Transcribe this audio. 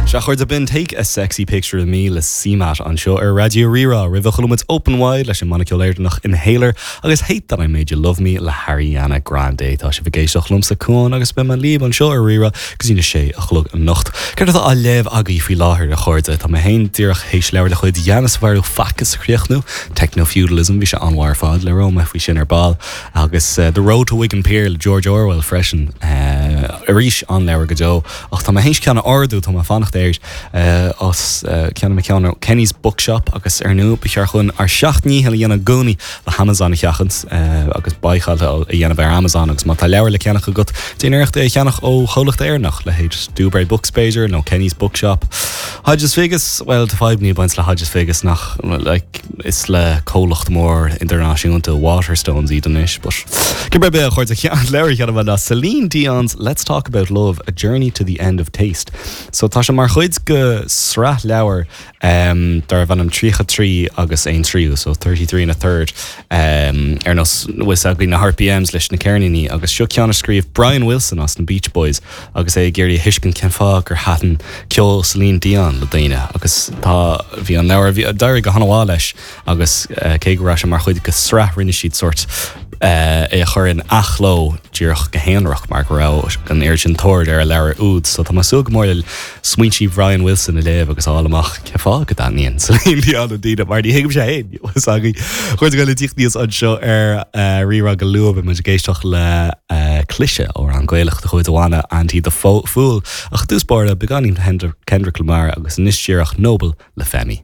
Sea, a chairde, b'in Take a Sexy Picture of Me le CMAT anseo ar Raidió Rí-Rá. Roimhe chuala muid Open Wide leis an mbanna ceoil Éireannach Inhaler agus Hate That I Made You Love Me le hAriana Grande. Tá sibh ag éisteacht liomsa, Cuán, agus beidh mé libh anseo ar Rí-Rá go dtí na sé a chlog anocht. Céard atá á léamh agaibh faoi láthair, a chairde? Tá mé féin díreach théis leabhar de chuid Yanis Varoufakis a chríochnú, Techno-Feudalism, bhí sé an-mhaith ar fad, labhróidh mé faoi sin ar ball. Agus The Road to Wigan Pier le George Orwell freisin. Arís, an-leabhar go deo. Ach tá mé théis ceann a ordú, tá mé ag fanacht air as ceann mé ceann ó Kenny's Bookshop agus ar ndóigh ba cheart dhúinn ár seacht ndícheall a dhéanamh i gcónaí le hAmazon a sheachaint agus báiceáil a dhéanamh ar Amazon agus má tá leabhar le ceannach agat, déan iarracht é a cheannach ó chomhlacht Éireannach, leithéid Dubray Books b'fhéidir nó Kenny's Bookshop. Hodges Figgis, bhuel tá fadhbanna ag baint le Hodges Figgis nach like, Is le comhlacht mór idirnáisiúnta Waterstones iad anois, but cibé ar bith, a chairde, an leabhar a cheannaigh mé ná Celine Dion's Let's Talk About Love, A Journey to the End of Taste. So tá sé mar chuid de sraith leabhar um, darbh ainm 33 agus aon tríú, so 33 and a third, um, ar nós bhfuil fhios agaibh na RPMs leis na ceirníní, agus seo ceann a scríobh Brian Wilson as na Beach Boys agus é ag iarraidh a thuiscint cén fáth gur thaitin ceol Celine Dion le daoine agus tá, bhí an leabhar, bhí, d'éirigh go han-mhaith leis agus cé go raibh sé mar chuid de sraith rinne siad sórt é a chur in athchló díreach go haonarach mar go raibh an oiread sin tóir ar an leabhar úd. So tá mé ag súil go mór le smaointí Brian Wilson a léamh agus a fháil amach cén fáth go dtaitníonn Celine Dion le daoine mar ní thuigimse féin bhfuil fhios agaibh. A chairde ag tíocht aníos anseo ar Rí-Rá go luath beidh muid ag éisteacht le Cliseadh, amhrán Gaelach de chuid an bhanna Anti the Fool. Ach i dtús báire, beagáinín Kendrick Lamar agus anois díreach Noble le Femi.